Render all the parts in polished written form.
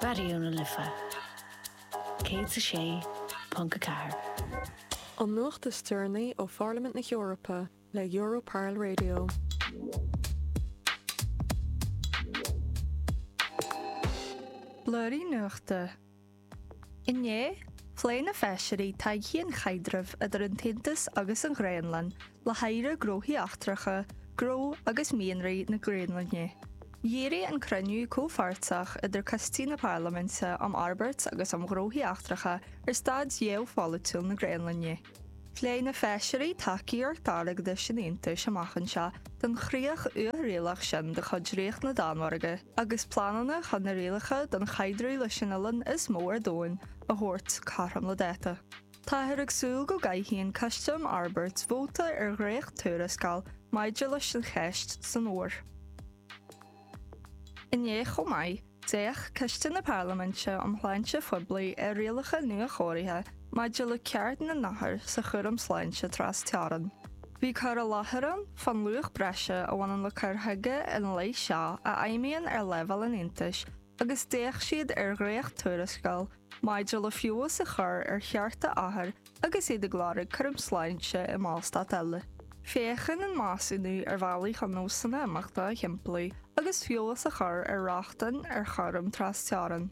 Raidió na Life 106.4. An nuacht is deireanaí ó Pharlaimint na hEorpa le Europarl Radio. Blúirí Nuachta. Inné, phléigh na feisirí todhchaí an chaidrimh idir an tAontas agus an Ghraonlainn le hAire Gnóthaí Eachtracha, Gnó agus Mianraí na Graonlainne. Dhírigh an cruinniú comhpháirteach idir coistí na Parlaiminte um Fhorbairt agus um Ghnóthaí Eachtracha ar staid gheopholaitiúil na Graonlainne. Phléigh na feisirí tacaíocht airgeadais an Aontais amach anseo don chríoch uathrialach sin de chuid Ríocht na Danmhairge agus pleananna chun na rialacha don chaidreamh leis an oileán is mó ar domhan a thabhairt cothrom le dáta. Táthar ag súil go gcaithfidh an Coiste um Fhorbairt vóta ar dhréacht-tuarascáil maidir leis an cheist san fhómhar. Inné chomh maith, d'fhéach Coiste na Parlaiminte um Shláinte Phoiblí ar rialacha nuachóirithe maidir le ceart na n-othar sa chúram sláinte tras-teorann. Bhí cur i láthair ann fán luach breise a bhaineann le cur chuige ina leith seo a fheidhmíonn ar leibhéal an Aontais agus d'fhéach siad ar dhréacht-tuarascáil maidir le feabhas a chur ar chearta othar agus iad ag lorg cúram sláinte i mBallstát eile. Féachann an measúnú ar bhealaí chun nósanna imeachta a shimpliú agus feabhas a chur ar rochtain ar chúram trasteorann.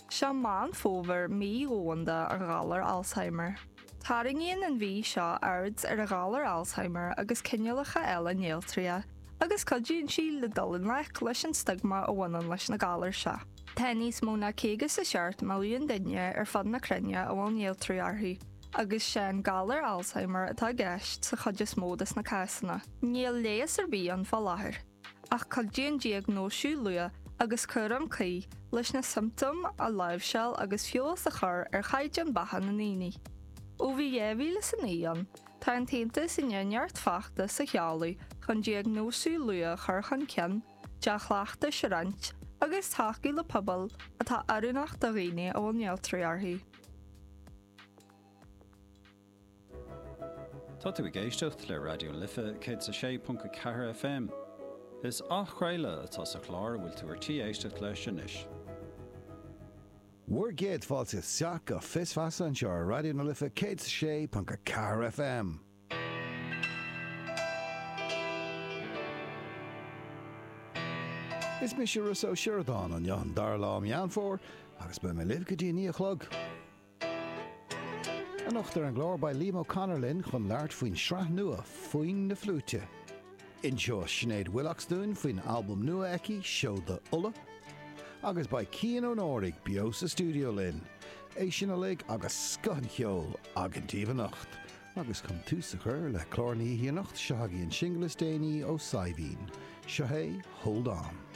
Seo Meán Fómhair, Mí Dhomhanda an Ghalair Alzheimer. Tarraingíonn an mhí seo aird ar an ghalar Alzheimer agus cineálacha eile néaltraithe, agus cuidíonn sí le dul i ngleic leis an stiogma a bhaineann leis na galair seo. Tá níos mó ná 57 milliún duine ar fud na cruinne a bhfuil néaltrú orthu, agus sé an galar Alzheimer atá i gceist sa chuid is mó des na cásanna. Níl leigheas ar bith ann fá láthair. Ach cuidíonn diagnóisiú luath agus cúram cuí leis na siomptóim a láimhseáil agus feabhas a chur ar chaighdeán beatha na ndaoine. Ó bhí 2009 ann, tá an tAontas i ndiaidh neart feachtas a sheoladh chun diagnóisiú luath a chur chun cinn, dea-chleachtais a roinnt agus tacú le pobail atá oiriúnach do dhaoine a bhfuil néaltrú orthu. Tá tú ag éisteacht le Raidió na Life 106.4 FM. Is athchraoladh atá sa chlár a bhfuil tú ar tí éisteacht leis anois. Bhur gcéad fáilte isteach go Fios Feasa anseo ar Raidió na Life 106.4 FM. Is mise Rossa Ó Sioradáin, inniu an dara lá Meán Fómhair agus beidh mé libh go dtí a 9 a chlog. Anocht ar an gclár beidh Liam O'Connor linn chun labhairt faoin sraith nua Foinn na Fliúite. Inseoidh Sinéad Willox dúinn faoin albam nua aici, Seoda Uladh. Agus beidh Cian Ó Nóraigh beo sa stiúideo linn. É sin uilig agus scoth an cheoil againn daoibh anocht. Agus chun tús a chur le clár na hoíche anocht, seo agaibh an singil is déanaí ó Saidhbhín. Seo é Hold On.